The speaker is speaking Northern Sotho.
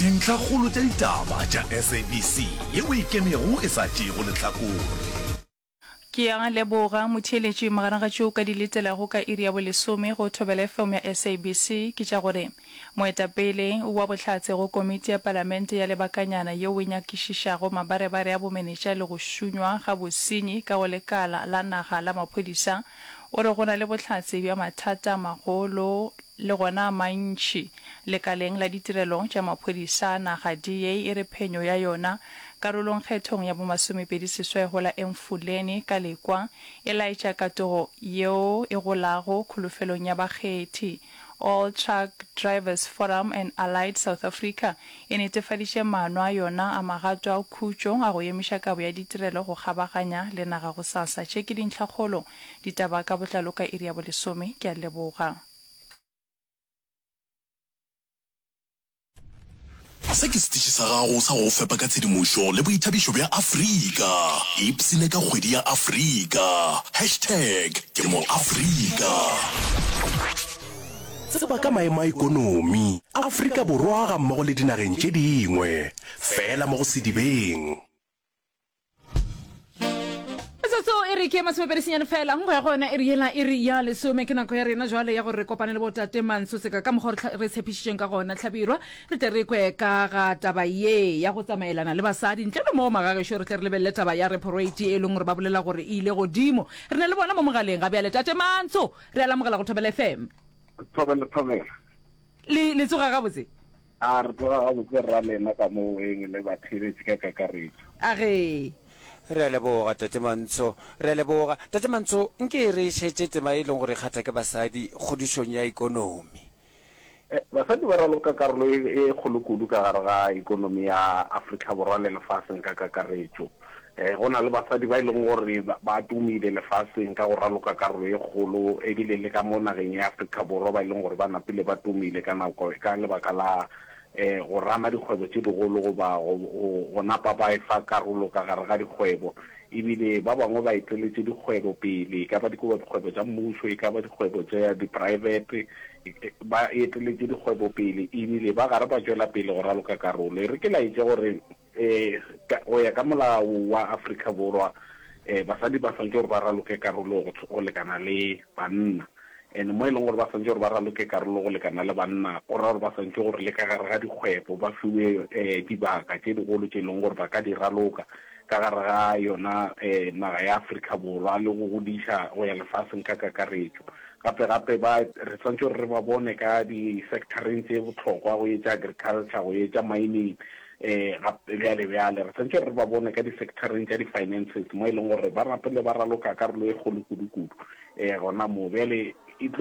Dintlhakgolo tša ditaba tša SABC yeo e ikemego e sa tšeego lehlakore. Ke a leboga motheeletši. Magareng ga tšeo o ka di letelago ka iri ya bolesome go Thobela FM ya SABC ke tša gore moetapele wa bohlatse go komiti ya palamente ya lebakanyana yeo e nyakišišago mabarebare a bomenetša le go šunywa ga bosenyi ka go lekala la naga la maphodisa o re go na le bohlatse bja mathata a magolo le gona a mantši lekaleng la ditirelo tša maphodisa a naga. DA e re phenyo ya yona karolong kgethong ya bomasomepedi seswai go la Emfuleni ka Lekwa e laetša katogo yeo e golago kholofelong ya bakgethi. All Truck Drivers Forum and Allied South Africa e netefaditše maano a yona a magato a khutšo a go emiša kabo ya ditirelo go kgabaganya le naga gosasa. Tše ke dintlhakgolo. Ditaba ka botlalo ka iri ya bolesome. Ke a leboga. Se ke setiši sa gago sa go go fepa ka tshedimošo le boithabišo bja Afrika. Ipshine ka kgwedi ya Afrika. Hashtag ke mo Afrika. Tseba ka maemo a ikonomi Afrika Borwa gammogo le dinageng tše dingwe, feela mo go Sedibeng. Metsotso e re ke masomepedi senyane fela go ya go yona iri yela iri ya lesome. Ke nako ya rena jwale ya gore re kopane le botate Manso Seka ka mokgwa re re tshepišitšeng ka gona. Hlabirwa re tle re kwe ka ga taba ye ya go tsamaelana le basadi. Ntle le moo magagešo re tle re lebelele taba ya repo rate e leng gore ba bolela gore e ile godimo. Re na le bona mo mogaleng ga bjale. Tate Manso, re a le amogela go Thobela FM. Thobela, thobela. Le, le tsoga gabotse? A re tsoga gabotse rra lena ka mo weng le batheeletši ka kakaretšo. A ge. Re a leboga Tate Mantsho. Re a leboga. Tate Mantsho, nke re šetše tema e leng gore e kgatha ke basadi kgodišong ya ikonomi. Basadi ba raloka karolo e kgolo kudu ka gare ga ikonomi ya Afrika Borwa le lefaseng ka kakaretšo. Go na le basadi ba e leng gore ba tumile lefaseng ka go raloka karolo e kgolo ebile le ka mo nageng ya Afrika Borwa ba e leng gore ba napile ba tumile ka nako ka lebaka la go rana dikgwebo tše digolo goba go napa ba efa karolo ka gare ga dikgwebo ebile ba bangwe ba eteletše dikgwebo pele, e ka ba dikgwebo tša mmušo, e ka ba dikgwebo tša dipraebete, ba eteletše dikgwebo pele ebile ba gare ba tšwela pele go raloka karolo. E re ke laetše gore Go ya ka molao wa Afrika Borwa, basadi ba swanetše gore ba raloke karolo go lekana le banna. And mo e leng gore ba swanetše gore ba raloke karolo go lekana le banna, go ra gore ba swanetše gore le ka gare ga dikgwebo ba fiwe dibaka tše digolo tše e leng gore ba ka di raloka ka gare ga yona naga ya Afrika Borwa le go godiša go ya lefaseng ka kakaretšo. Gape gape ba re swanetše gore re ba bone ka di-sector-eng tše bohlokwa go etša agriculture, go etša mining, Ee, gape bjale, bjale re santše re ba bone ka di-sector-eng tša di-finances mo e leng gore ba rapele ba raloka karolo e kgolo kudu-kudu um gona moo. Bjale